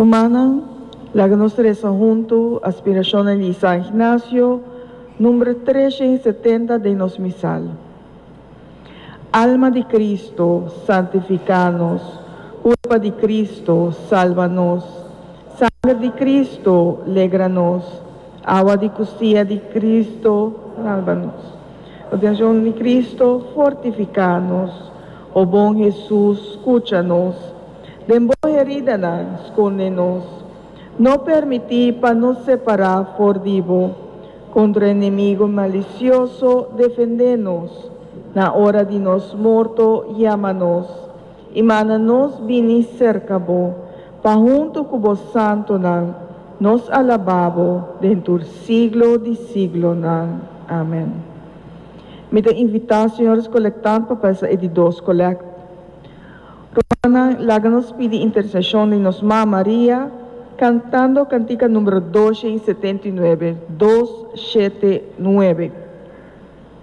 Rumannan, laga nos resa huntu Aspirashonnan di San Ignacio, number 370 den nos misal. Alma di Cristo, santifica nos. Curpa di Cristo, salba nos. Sanger di Cristo, legra nos. Awa di custia di Cristo, salba nos. Redención di Cristo, fortifica nos. O bon Hesus, scucha nos. Den bo heridanan, sconde nos. No permiti pa nos separa for di bo. Contra enemigo malicioso, defende nos. Na ora di nos morto, yama nos. I manda nos bini serka bo, pa huntu ku bo santunan nos alabá bo den tur siglo di siglonan. Amen. Mi ta invitá señores kolektant pa pasa e di dos kolèkt. Rumannan, laga nos pidi interseshon di nos Mama Maria, kantando kantika numero 279, 279.